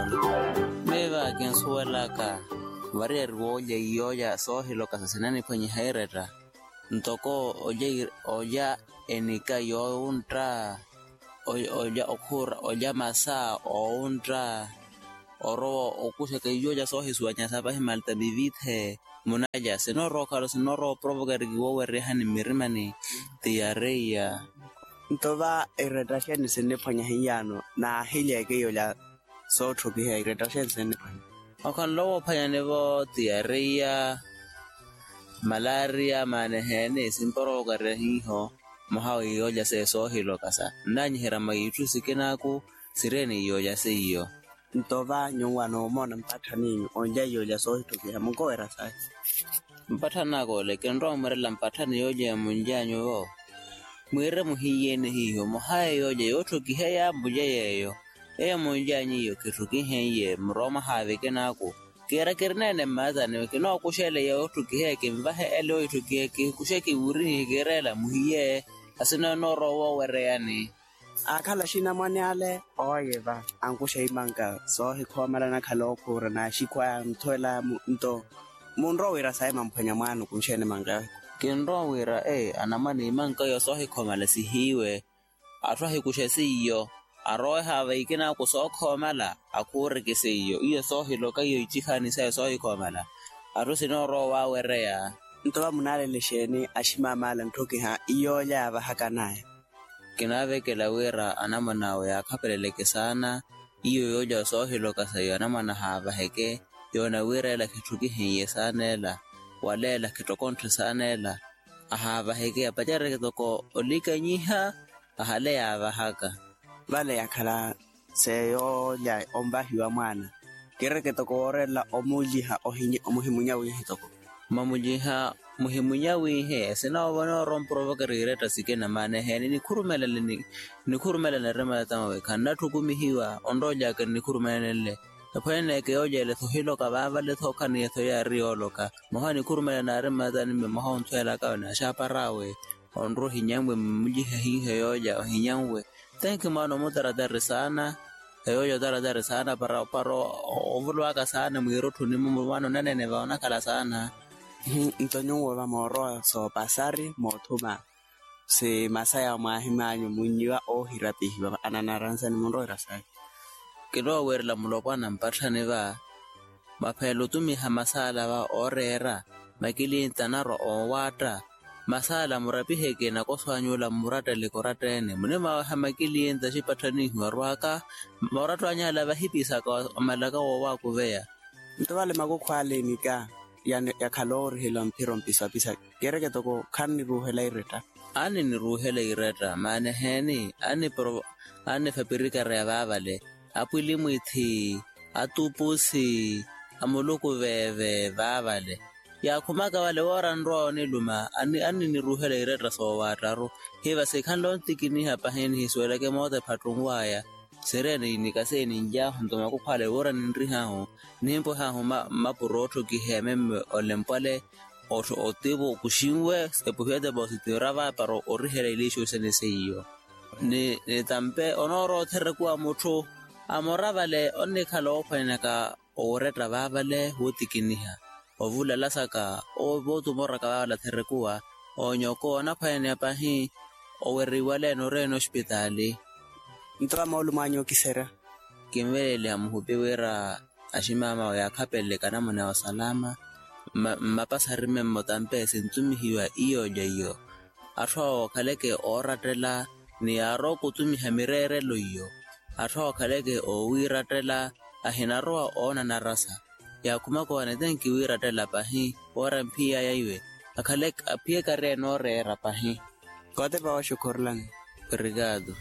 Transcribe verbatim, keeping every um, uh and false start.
Miyo va kinsuwelaka variyari woolya iyooya soohilokasa sinaniphwanyiha iretta ntoko olya enika yoowuntta olya okhuura olya masa oowuntta orowa okuxaka iyooya soohisuwanyasa pahi malta mivithe munalya sinoorowa okhala sinoorowa oprovoka eri kiwoowererihani mmirimani. Tiyareiya. Nto va iretta xeeni sinniphwanya hiyano naahilyeeke iyolya sootthukiha iretta xeeni sinniphwanya. Okhanle woophwanyani-vo tiyareiya malaria maana eheeni simporovokarya hiiho. Mwaha w'iyolya seiyo soohilokasa nnanyiherya mwa itthu sikinaaku sireeni iyolya seiyo. Nto va nyuwo anoomona mpatthaniinyu onlya iyolya soohittokiha munkowerya sahi. Mpatthani akole kinrowa mwiirela mpatthani yoolya ya munlyanyu-vo. Mwiire muhiiyeene hiiho mwaha iyolya yootthokiheya mulye yeeyo. Eyo munlyanyu iyo kitthokihenye murowa mwaha vikinaaku. Kiira kirineene mmaatani kinookuxela yootthokiheya kinvahe ele oitthokiheya kikuxe kiwurihihe kiirela muhiye. Asina noorowa woowereyani. Aakhala axinamwane ale ooye va ankuxa imanka soohikhoomala anakhala ookhuura n'axikhwaya nthuwela nto munrowa wira sayi mamphwanya mwaana okunxeene manka yohikhoomala. Kinrowa wira ee anamwane imanka iyo soohikhoomala sihiiwe. Atthu ahikuxe seiyo aroweha vaikinaaku sookhoomala akhuureke seiyo iyo soohiloka iyo icihaani sayo soohikhoomala. Atthu sinoorowa waawereya. Nto va munaalele exeeni aximaamaala ntthokiha iyoolya yaavahakanaya. Kinaavekela wira anamwane awe yaakhapeleleke saana. Iyo yoolya soohiloka sayo anamwane ahaavaheke yoona wira ela khitthukihenye saana ela. Wala ela khittokontthe saana ela ahaavaheke apacereke toko olikanyiha. Ahale yaavahaka vale yakhala seyoolya onvahiwa mwaana. Kireke toko woorelela omuliha omuhimunya wiihi toko. Mwamuliha muhimunya wiihi esina ovona oromporovoka riretta sikina maana eheeni nikhurumelele nikhurumelele nirima yatamawe khannatthukumihiwa onrolyaka nikhurumelele. Ephwene neeke yoolya ele thohiloka vaavale thokhaniya thoyaari yooloka. Mwaha nikhurumela naari mmaatani mme mwaha onthuwelaka naxaaparawe. Onrowa ohinyanwe mmulihe hiiho yoolya ohinyanwe. Tenki mwaana omutaratari saana. Eyoolya otaratari saana para ovuluwaka saana mwiirutthuni mwaana onaneene va onakhala saana. Nto nyuwo va moorowa soopasari moothuma si masaya mwaahim'anyu munnyiwa oohirapihiwa ananaransani munrowa irasayi. Kinoowerela mulopwana mpatthani va mwaphela otumiha masaala va ooreera makilinta anarwa oowaatta. Masaala murapiheke nakoso anyuula mmurattele koratta-ene munimwaweha makilinta axipatthanihiwa arwaka. Mooratto anyu ala vahipisaka omalaka woowaakuveya. Nto vale makukhu ale enika yakhala oorihela mphira ompisapisa. Kereke toko khanniruuhela iretta. Aniniruuhela iretta maana eheeni annifapirikareya vaavale. Apwilimwithi, atupusi, amuluku veeve vaavale. Yaakhumaka vale woora nrowa oniluma anniniruuhela iretta soowaattaru. Hiva sikhanle ontikiniha pahi nihisuweleke moota ephattunw'aya. Sireeni nikaseeni nly'ahu nto makukhu ale woora ninrih'ahu. Nihimpweh'ahu mmapuro ootthokiheya memme olempwale. Otivo kuxinwe epuhiwa depositi orava para orihela iliixu sene seiyo. Ni tampe onoorowa otherekuwa mutthu amora vale onnikhala oophwanyanaka oweretta vaavale wootikiniha. Ovulalasaka oovootumoraka vaavale atherekuwa. Oonyoko onaphwanyaneya pahi. Oweriwale noreeni ospitaali. Nto va moolumo anyu okiserya. Kinveleeliha muhupi wira aximaamawe yaakhapeleleke anamwane awe osalama. Mmapasari memme otampe sintumihiwa iyoolya iyo. Atthu awo okhaleke oorattela ni yaarowa okutumiha mireerelo iyo. Atthu awo okhaleke oowiirattela ahinarowa oona narasa. Yaakhumaka owane tenki wiirattela pahi woora mphiy'aya iwe. Akhale aphiyeke ari enooreera pahi. Kootepa wooxukhurulani. Obrigado.